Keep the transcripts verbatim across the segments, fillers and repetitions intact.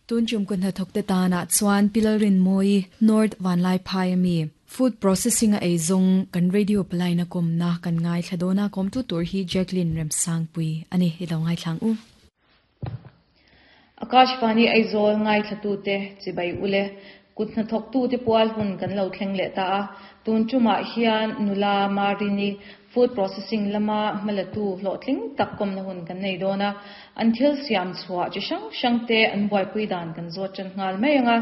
Tun tum kun hnathawk te tana chuan Pilalrinmawii North Vanlaiphai ami food processing a eizawng kan radio palaina kawmna kan ngaithla dawna kawmtu tur hi Jacqueline Remsangpui ani i lo ngaithlang u. Akashvani Aizawl ngaithla tu te chibai ule kut hnathawk tu te pual hun kan lo thleng leh ta a tun tumah hian nula Marini food processing lama hmalatu hlawhtling tak kawmna hun kan nei dawn a an thil siam chhuah chi hrang hrang te an buaipui dan kan zawt ṭan nghal mai anga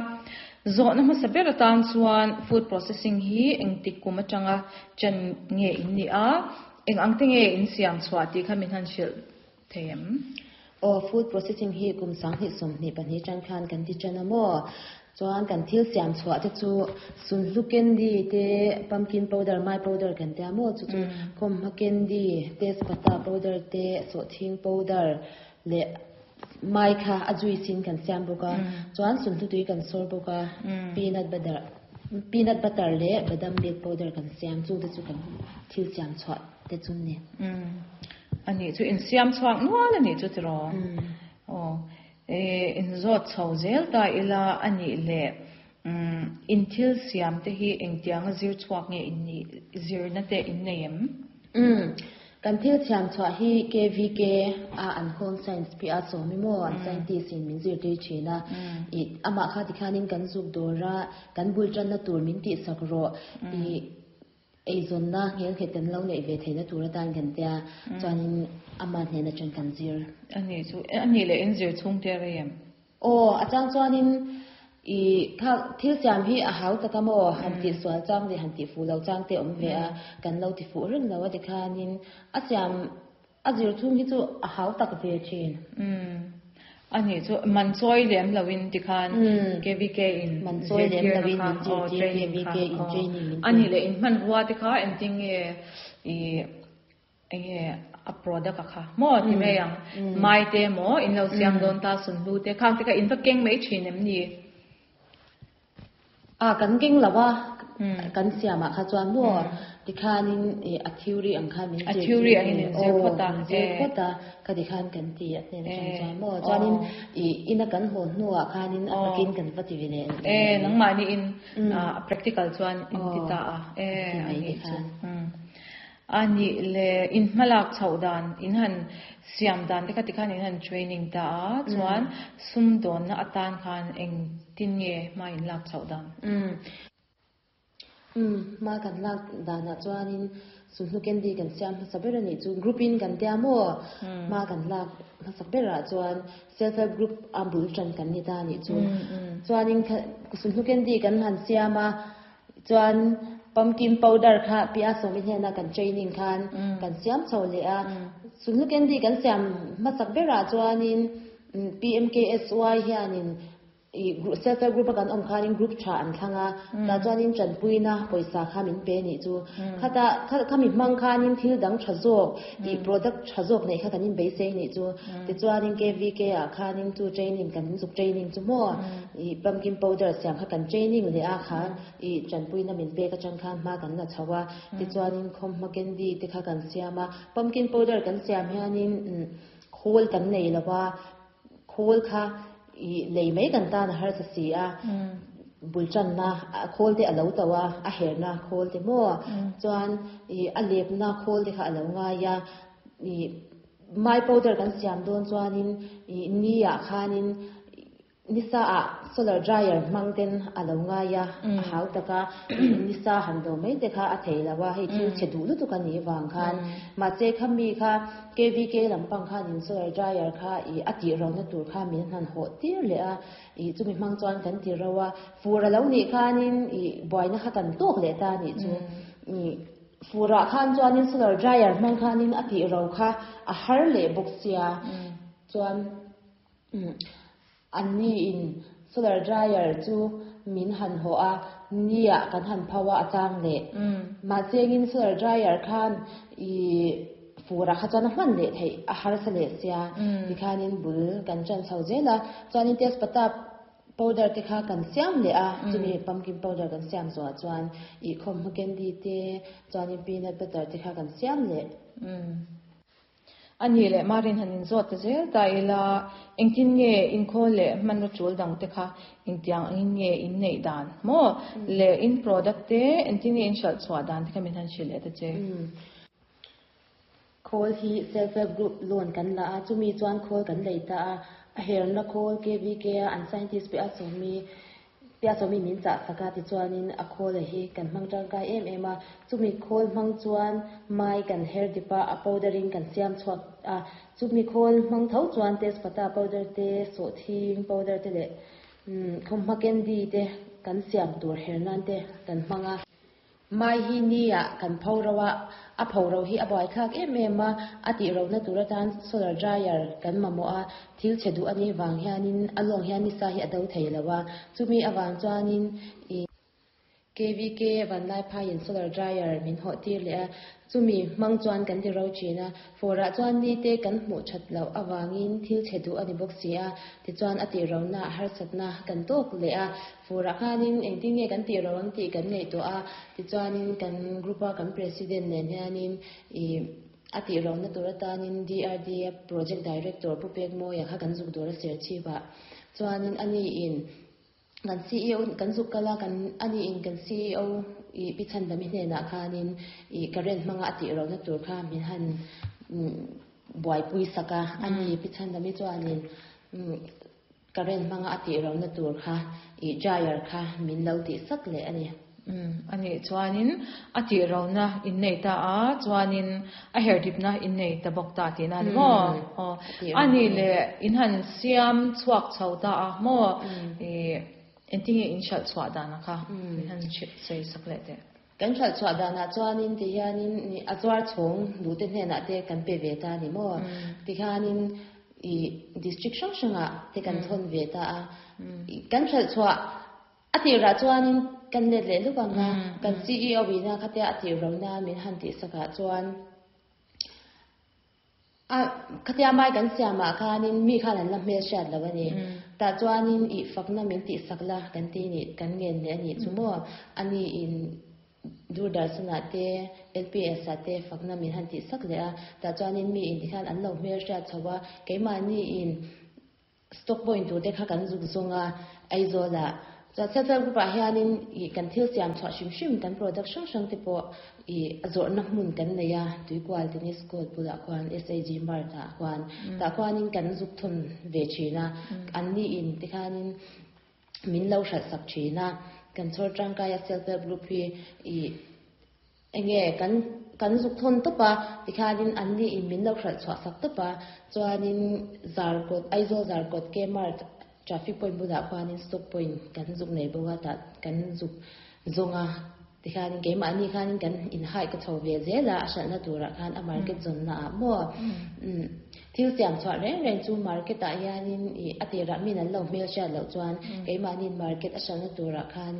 zawhna hmasa ber atan chuan food processing hi engtik kum atanga chan nge in ni a eng ang te nge in siam chhuah tih kha min han hrilh thei em o food processing hi kum sang hi som ni pahnih tang khan kan ti chan amo chuan kan thil siam chhuah te chu sunhlu candy te pumpkin powder mai powder kan te amo chu chu khawmhma candy tezpata powder te sawhthing powder le mai kha a juice in kan siam bawk a chuan sunhlu tui kan sawr bawk a peanut butter peanut butter le badam milk powder kan siam chu te chu kan thil siam chhuah te chu ni ani chu in siam chhuak nual ani chu tiro o e in zawt chho zel ta ila ani le in thil siam te hi engtianga zir chhuak nge in ni zir na te in nei em um kan thil siam chhuah hi K V K a an home science pi a sawmi mo an scientist in min zir tir thina i ama kha ti khanin kan zuk dora kan bul tan na tur min ti sak ro i eizawn na ngel khe ten lo nei ve theina tur atan kan tia chuanin ama hnena chan kan zir. Ani chu ani le in zir chung te re em? O achang chuanin i kha thil siam hi a hau taka mo han ti sual chang le han ti fu lo chang te om ve a kan lo ti fu reng lo a ti khanin a siam a zir chung hi chu a hau tak ve thin. um ani chu man choi lem lawin ti khan K V K in man choi lem lawin min zir tir K V K in training min. Ani le in man ruwa te kha enting nge i enge a product a kha mo ti me yang mai te mo in lo siam don ta sun lu te khang te ka in va keng mai thin em ni? A kan keng lawa kan siama kha chuan mo ti khanin a theory ang khan min a theory ang in zir phota. Zir phota ka ti khan kan ti a hnen atang chuan mo chuanin i ina kan haw hnuah khanin a takin kan va ti ve le. E nangmah ni in practical chuan in ti ta a e ani chu ani le in hmalak chho dan in han siam dan te kha ti khan in han training ta a chuan sum don na atan khan eng tin nge ma in lak chho dan? um um ma kan lak dana chuanin sunhlu candy kan siam hmasa ber ani chu group in kan tia mo ma kan lak hmasa berah chuan self help group a bul tran kan ni ta ani chu chuanin sunhlu candy kan han siam a chuan pumpkin powder kha pi a sawmi hnena kan training khan kan siam chho le a sunhlu candy kan siam hmasak berah chuanin P M K S Y hianin i self help group a kan awm khanin group tha an thlanga ta chuanin tanpuina pawisa kha min pe ni chu khata khami hmang khanin thil dang tha zawk i product tha zawk nei kha kan in beisei ni chu ti chuanin K V K ah khanin chu training kan zuk training chu mo i pumpkin powder siam kha kan training le a khan i tanpuina min pe ka chang khan hma kan la chhowa ti chuanin khawmhma candy te kha kan siam a pumpkin powder kan siam hianin khawl kan nei lova khawl kha i lei mai kan tan a har sa si a bul chan na khawl te alo tawa a her na khawl te mo chuan i a lep na khawl te kha alo ngai a i mai powder kan siam dawn chuanin i ni ah khanin nisa a solar dryer hmang ten alo ngai a a hau taka nisa han do mai te kha a thei lawa hei thil che du lu tu kan ni wang khan ma che khami kha K V K lampang khan in solar dryer kha i a ti ro na tur kha min han ho tir le a i chumi hmang chuan kan ti ro a fur alo ni khanin i boina kha kan tok le ta ni chu i fura khan chuanin solar dryer hmang khanin a ti ro kha a har le bawk sia chuan an ni in solar dryer chu min han ho a nia kan han phawa achang le ma chengin solar dryer khan i fura kha chuan a hman le thei a har sa le sia ti khanin bul kan chan chho zela chuanin tezpata powder te kha kan siam le a chumi pumpkin powder kan siam zo chuan i khawmhma candy te chuanin peanut butter te kha kan siam le. Ani le marin hanin zawt ta zel ta ila engtin nge in khawl leh hmanraw tul dang te kha engtiang angin nge in neih dan maw le in product te engtin nge in hralh chhuah dan te kha min han hrilh leh ta che. Khawl hi self help group loan kan la a chumi chuan khawl kan lei ta a a herna khawl K V K a an scientist pe a sawmi pe a sawmi min chah saka ti chuanin a khawl a hi kan hmang tangkai em em a. Chumi khawl hmang chuan mai kan her dipa a powder in kan siam chhuak a. Chumi khawl hmang tho chuan tezpata powder te, sawhthing powder te leh khawmhma candy te kan siam tur her nan te kan hmang a. Mai hi ni ah kan pho ro a, a pho ro hi a buai thlak em em a. A tih ro na tur atan solar dryer kan mamawh a. Thil che duh ani wang hianin a lawng hian ni sa hi a do thei lo a. Chumi awang chuanin i K V K vanlai phaiin solar dryer min hawh tir leh a. Chumi hmang chuan kan ti ro thin a. Fawrah chuan ni te kan hmuh that loh awangin thil che duh ani bawk si a. Tichuan a tih ro na harsatna kan tawk leh a. Fawrah khanin engtin nge kan tih ro ang tih kan ngaih tawh a. Tichuanin kan group a kan president nen hianin i a tih ro na tur atanin D R D project director Pu Pek Mawia kha kan zuk dawr a ser chiwa. Chuanin ani in kan C E O kan zuk kala kan ani in kan C E O i pi chan dami hnenah khanin i current hmanga a tih ro na tur kha min han buai pui saka. Ani pi chan dami chuanin current hmanga a tih ro na tur kha i dryer kha min lo tih sak leh ani. Ani chuanin a tih ro na in nei ta a, chuanin a her dip na in nei ta bawk ta ti na ni maw? Ani le in han siam chhuak chho ta a maw, i engtin nge in hralh chhuah dan a kha min han sei sak leh te. Kan hralh chhuah danah chuanin ti hianin a chuar chhawng duh te hnenah te kan pe ve ta ni maw. Ti hianin i district hrang hrangah te kan thawn ve ta a. Kan hralh chhuah a tirah chuanin kan let leh luk anga kan C E O ina khatia a tih ro na min han tih sakah chuan a khatia mai kan siamah khanin mi khan an la hmel hriat lo ani. Tah chuanin i fakna min tih sak la kan ti ni kan ngen leh ani chu maw. Ani in Doordarshan te L P S ah te fakna min han tih sak leh a. Tah chuanin mi in ti khan an lo hmel hriat chho a. Keimahni in stock point tur te kha kan zuk zawnga Aizawl ah. Chuan self help group ah hianin i kan thil siam chhuah hrim hrim kan product hrang hrang te pawh i a zawrhna hmun kan nei a. Tuikual tennis court bulah khuan S A G Mart ah khuan tah khuanin kan zuk thun ve thin a. An ni in ti khanin min lo hralh sak thin a. Kan chhawr tangkai a self help group hi i enge kan kan zuk thun tawp a. Tikhanin an ni in min lo hralh chhuah sak tawp a. Chuanin Zarkawt, Aizawl Zarkawt K Mart traffic point bulah khuanin stock point kan zuk nei bawk a. Tah kan zuk zawnga tikhanin keimahni khanin kan in hai ka chho ve zel a. A hralhna turah khan a market zawnna ah maw. Thil siam chhuah reng reng chu market ah hianin i a tirah min an lo hmel hriat loh chuan keimahni market a hralhna turah khan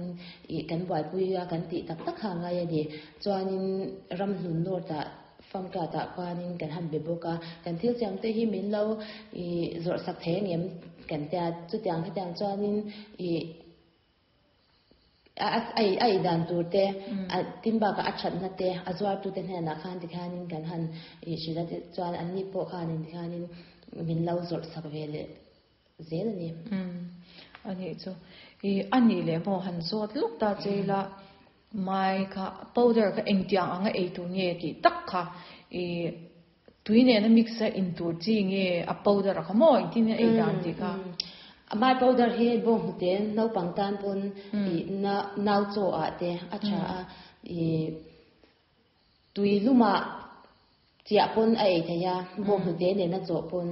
i kan buaipui a kan tih tak tak ha ngai ani. Chuanin Ramhlun North ah famka tah khuanin kan han be bawk a. Kan thil siam te hi min lo i zawrh sak thei angem kan tia. Chutiang khatiang chuanin i a ai ai dan tur te a tin bakah a thatna te a zuar tu te hnenah khan ti khanin kan han i hrila te chuan an ni pawh khanin ti khanin min lo zawrh sak ve leh zel ani. Ani chu i ani le maw han zawt luk ta cheila mai kha powder kha engtiang anga ei tur nge ti tak kha i tui ne na mix a in tur chi nge a powder kha maw engtin nge ei dan ti kha? Mai powder hi bawng hnute naupang tan pawn i na nau chaw ah te a tha a. I tui luma chiah pawn a ei thei a. Bawng hnute nen a chaw pawn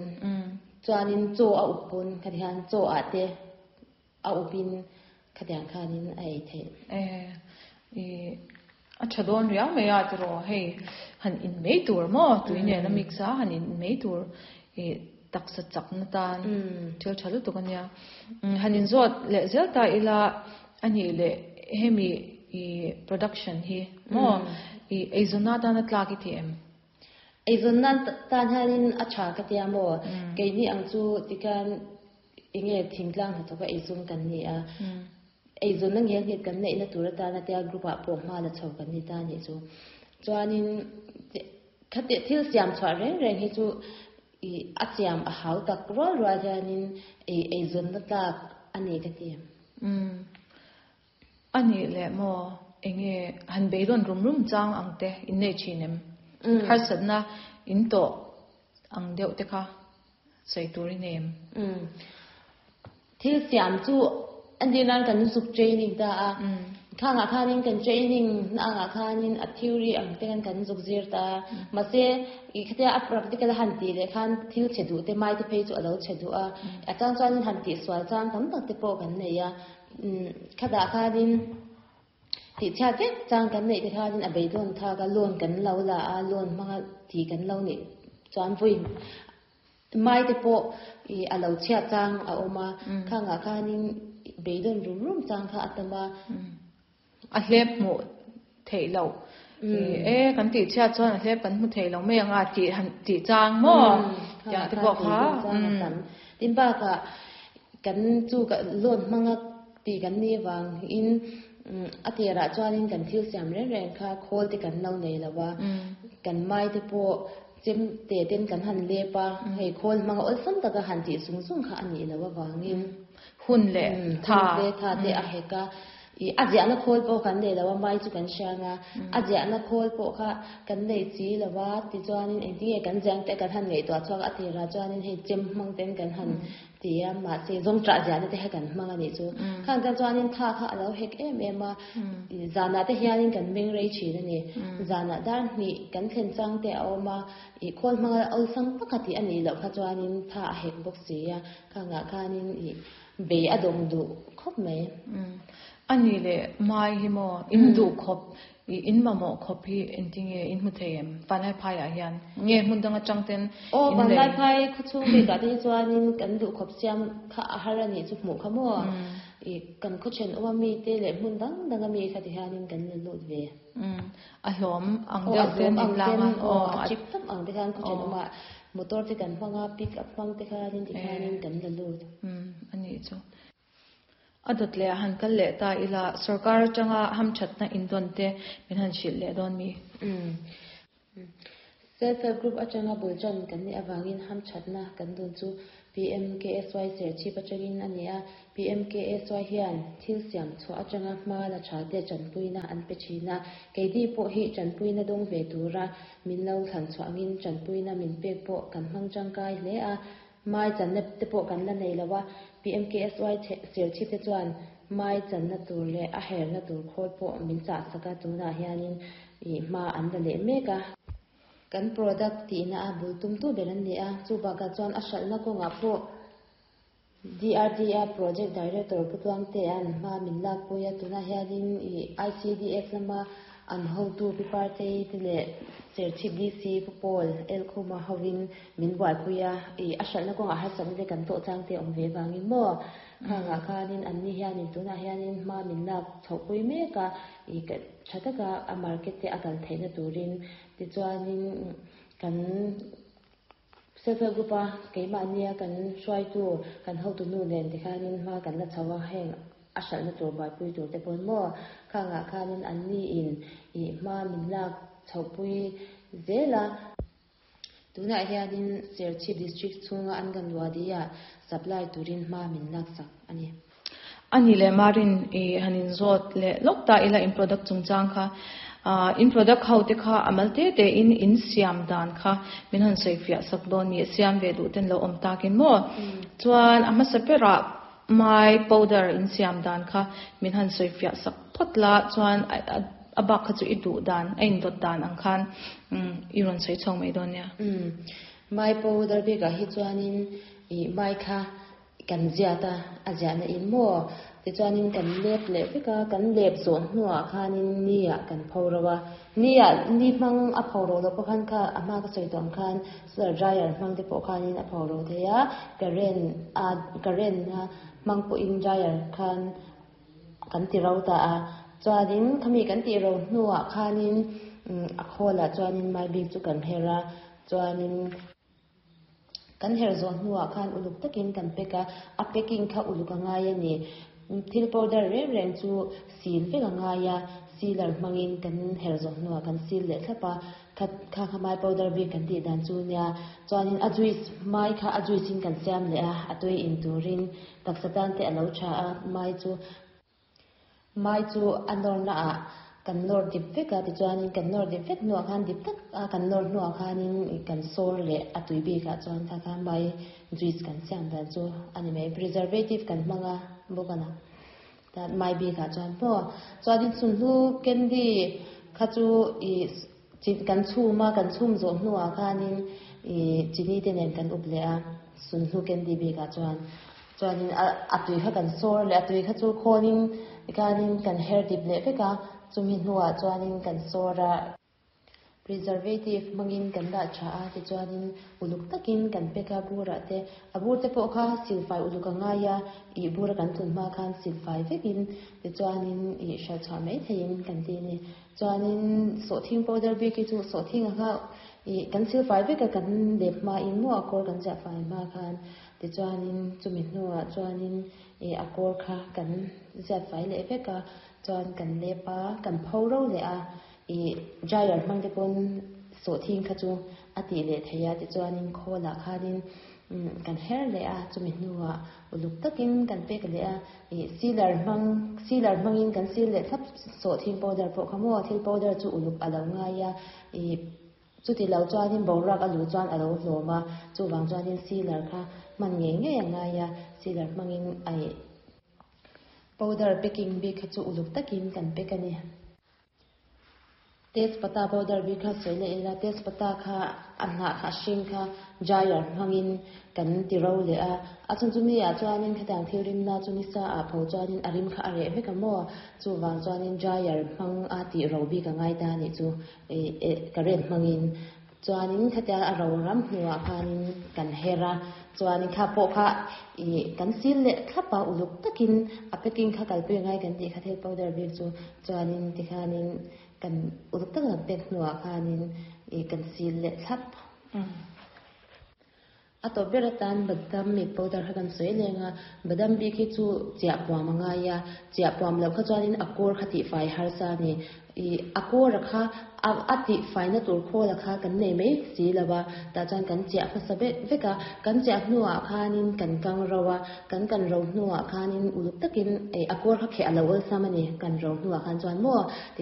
chuanin chaw a up pawn khati hian chaw ah te a upin khatiang khanin a ei thei. Eh i a tha dawn riau mai a tiro hei han in mei tur maw tui ne na mix a han in mei tur i taksa chak na tan thil tha lutuk ania. Han in zawt leh zel ta ila ani le hemi i production hi maw i eizawna tan a tlak i ti em? Eizawn nan tan hianin a tha ka tia maw. Keini ang chu tikhan enge thingtlang hnathawk a eizawn kan ni a. Eizawn na ngel nghet kan neih na tur atana tia group ah pawh hma la chho kan ni ta ni chu. Chuanin Khate thil siam chwa reng reng hi chu i a siam a hau tak rual rual hianin ei ei zon na tlak ani ka ti. Um ani le mo enge han beidon rum rum chang ang te in nei chinem har satna in to ang deuh te kha sei turi nem. Um thil siam chu an din nan kan suk training ta a kha nga khanin kan training na nga khanin a theory ang te kan kan zuk zir ta ma se i khatia a practical han ti le khan thil chedu te mai te phei chu alo chedu a a chang chuan han ti swal chang tam tak te pawh kan nei a khada khanin ti cha vek chang kan nei te khanin a beidon tha ka loan kan lo la a loan manga ti kan lo ni chuan vui mai te pawh i alo chhia chang a oma kha nga khanin beidon rum rum chang kha atama a hlep mu thei lo e kan ti chhia chuan a hlep kan mu thei lo mai anga ti han ti chang mo ya te pawh kha tin ba ka kan chu ka loan manga ti kan ni wang in atira chuanin kan thil siam reng reng kha khol te kan lo nei lawa kan mai te pawh chem te ten kan han lepa hei khol manga ol sam taka han ti sung sung kha ani lawa wangin hun le tha te tha te a heka i a na khol pawh kan nei lawa mai chu kan hrianga a na khol pawh kha kan nei chi lawa ti chuanin engtinge kan jiang te kan han ngei to chuak atira chuanin hei chem mang ten kan han tia ma se zong tra jian te kan mang ani chu khan kan chuanin tha kha alo hek em em a zana te hianin kan meng rei thin ani zana dar ni kan thlen chang te a awma i khol mang ol sang pakati ani lo kha chuanin tha a hek bawk sia kha nga khanin i be adom du khop mai ani le mai hi mo in du khop i in ma mo khop hi entinge in mu theim panai phai a hian nge mun danga changten o panai phai khu chu be ka te chuanin kan du khop siam kha a har ani chu mu kha mo i kan khu chen o mi te le mun dang dang mi kha ti hianin kan le lot ve a hlom ang deuh ten in langa o a chip tak ang te khan khu chen oma motor te kan hmanga pick up hmang te khanin ti hianin kan le lot ani chu adot le han kal le ta ila sarkar changa ham chatna indon te min han shil le don mi self help group achanga bulchan kan ni awangin ham chatna kan don chu P M K S Y ser chi pachangin ania P M K S Y hian thil siam chu achanga hma la tha te chanpuina an pe thina keidi pawh hi chanpuina dong ve tura min lo thlan chuangin chanpuina min pek pawh kan hmang tangkai hle a mai channa te pawh kan la nei lawa P M K S Y ser chi te chuan mai channa tur le a her na tur khol pawh min cha saka tuna hianin i hma an la le meka kan product ti na a bul tum tu beran ni a chu ba ka chuan a hral na kawnga pawh D R D A project director putwang te an hma min lak puia tuna hianin i I C D S lama an hotu pi parte te le serchip D C pupol el khuma hawin min buai puia i a hral na kawnga har sam te kan to chang te awm ve wangin mo kha nga khanin an ni hianin tuna hianin hma min lak chhopui meka i ka thataka a market te akal theina turin ti chuanin kan self help group a keima ania kan hruai tu kan hotu nu nen ti khanin hma kan la chawa heng a hral na tur bai pui tur te pawn mo kha nga khanin an ni in i hma min lak chhopui zela tuna hianin Serchhip district chhunga an kan wadia supply turin hma min lak sak ani ani le marin e hanin zot le lokta ila in product chungchang kha in product ho te kha amal te te in in siam dan kha min han sei fia sak don ni siam ve du ten lo om takin mo chuan ama sapera mai powder in siam dan kha min han sei fia sak photla chuan abak kha chu i du dan a in dot dan ang khan i ron sei chong mai don ya mai powder be ka hi chuanin i mai kha kan zia ta a zia na in mo ti chuanin kan lep le veka kan lep zawn hnuah khanin ni ah kan pho ni ah ni hmang a pho ro lo pawh khan kha a hma ka sawi tawh ang khan solar dryer hmang te pawh khanin a pho ro thei a current a current a hmang pawhin dryer khan kan ti ro ta a chuanin khami kan ti ro hnuah khanin a khawlah chuanin mai bik chu kan her a chuanin kan her zawn hnuah khan uluk takin kan pack a a packing kha uluk a ngai ani thil powder reng reng chu sil vek a ngai a sealer hmangin kan her zawn hnuah kan sil leh thlap a Kha kha kha mai powder bik kan ti dan chu nia. Chuanin a juice mai kha a juice in kan siam leh a, a tui in turin taksa tan te alo tha a. Mai chu mai chu a nawr na ah kan nawr dip vek a, tichuanin kan nawr dip vek hnuah khan dip tak a kan nawr hnuah khanin kan sawr leh a tui bikah chuan kha kha mai juice kan siam dan chu ani mai. Preservative kan hmang a bawk a na ta mai bikah chuan pawh. Chuanin chunhnu candy kha chu ih kan chhum a, kan chhum zawh hnuah khanin ih chini te nen kan up leh a sunhlu candy bikah chuan. Chuanin a a tui kha kan sawr leh a tui kha chu khawnin tikhanin kan her dip leh vek a, chumi hnuah chuanin kan sawr a. Preservative hmangin kan dah tha a, tichuanin uluk takin kan pack a burah te. A bur te pawh kha silfai uluk a ngai a, ih bura kan thun hma khan silfai vekin tichuanin ih hralh chhuah mai theiin kan ti a ni. Chuanin sawhthing powder bik hi chu sawhthing a kha ih kan silfai vek a kan lep hmain maw a kawr kan ziah fai hma khan tichuanin chumi hnuah chuanin ih a kawr kha kan ziat fai leh vek a, chuan kan lep a, kan pho ro leh a. Ih dryer hmang te pawn sawhthing kha chu a tih leh thei a, tichuanin khawlah khanin kan her leh a, chumi hnuah uluk takin kan pek leh a. Ih sealer hmang sealer hmangin kan seal leh thlap sawhthing powder pawh kha maw thil powder chu uluk a lo ngai a. Ih chuti lo chuanin boruak a luh chuan a lo hlawm a, chuvang chuanin sealer kha hman ngei ngei a ngai a, sealer hmangin ai powder packing bik kha chu uluk takin kan pack a ni. Tezpata powder bik kha sawi leh ila, tezpata kha a hnah kha a hring kha dryer hmangin kan ti ro leh a. A chhan chu mi ah chuanin khatiang thil rimna chu ni sa ah pho chuanin a rim kha a reh vek a maw, chuvang chuanin dryer hmang a tih ro bik a ngai ta anih chu ih current hmangin. Chuanin khatiang a ro ram hnuah khanin kan her a, chuanin kha pawh kha ih kan seal leh thlap a uluk takin a packing kha kalpui ngai kan tih kha thil powder bik chu. Chuanin tikhanin kan uluk takin kan pek hnuah khanin ih kan seal leh thlap. A tawp ber atan badam milk powder kha kan sawi leng a, badam bik hi chu chiah puam a ngai a, chiah puam loh kha chuanin a kawr kha tihfai harsa a ni. Ih a kawr a kha a a tihfaina tur khawl a kha kan nei mai si lo a, tah chuan kan chiah hmasa vek vek a, kan chiah hnuah khanin kan kang ro a, kan kan ro hnuah khanin uluk takin ih a kawr kha kheh a lo awlsam a ni kan ro hnuah khan chuan maw.